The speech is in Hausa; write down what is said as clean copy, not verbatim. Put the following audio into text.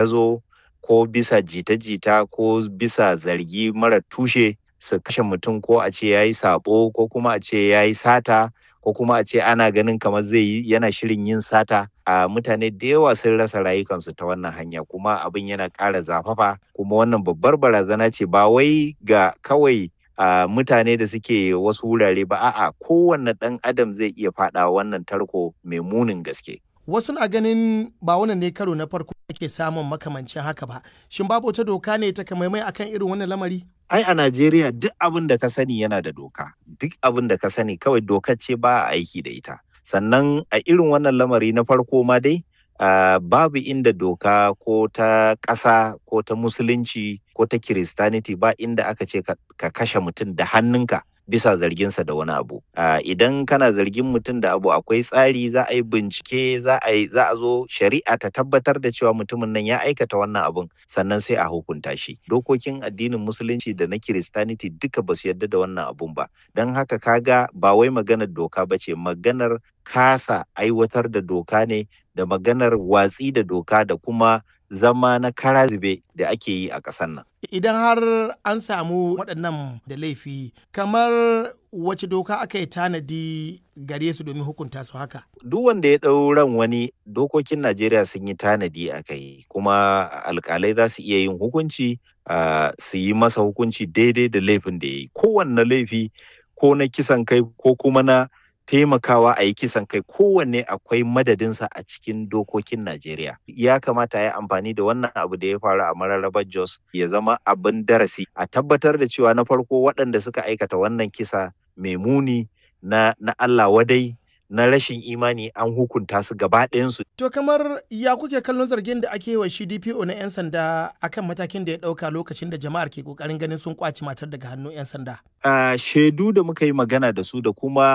Zo ko bisa jita-jita ko bisa zargi mara tushe su kashe mutum, ko a ce ya yi saɓo, ko kuma a ce ya yi sata, ko kuma a ce ana ganin kamar zai yi, yana shirin yin sata. A mutane da yawa sun rasa rayukansu ta wannan hanya, kuma abin yana ƙara zafafa. Kuma wannan babbar barazana ce, ba wai ga kawai a mutane da suke wasu wurare ba, a'a, kowanne ɗan adam zai iya faɗawa wannan tarko mai munin gaske. Wasu na ganin ba wannan ne karo na farko ake samun makamancin haka ba. Shin babu wata doka ne takamaimai akan irin wannan lamari? Ai a Najeriya duk abin da ka sani yana da doka. Duk abin da ka sani, kawai dokar ce ba a aiki da ita. Sannan a irin wannan lamari na farko ma dai, babu inda doka ko ta ƙasa ko ta Musulunci ko ta Kiristaniti, ba inda aka ce ka kashe mutum da hannunka bisa zarginsa da wani abu. Idan kana zargin mutum da abu, akwai tsari, za a yi bincike, za a zo shari'a ta tabbatar da cewa mutumin nan ya aikata wannan abun, sannan sai a hukunta shi. Dokokin addinin Musulunci da na Kiristaniti duka ba su yarda da wannan abun ba. Don haka kaga ba wai maganar doka ba ce, maganar kasa aiwatar da doka ne, da maganar watsi da doka, da kuma zama na kara zube da ake yi a ƙasar nan. Idan har an samu waɗannan da laifi, kamar wace doka aka yi tanadi gare su domin hukunta su haka? Duk wanda ya ɗau ran wani, dokokin Najeriya sun yi tanadi a kai, kuma alƙalai za su iya yin hukunci, su yi masa hukunci daidai da laifin da ya yi. Kowanne laifi, ko na kisan kai ko kuma na taimakawa a yi kisan kai, kowanne akwai madadinsa a cikin dokokin Najeriya. Ya kamata a yi amfani da wannan abu da ya faru a Mararrabar Jos ya zama abin darasi, a tabbatar da cewa na farko waɗanda suka aikata wannan kisa mai muni na Allah wadai na rashin imani, an hukunta su gaba ɗayansu. To kamar ya kuke kallon zargin da ake yi wa shi DPO na 'yan sanda akan matakin da ya ɗauka lokacin da jama'ar ke ƙoƙarin ganin sun ƙwace matar daga hannun 'yan sanda? Shaidu da muka yi magana da su da kuma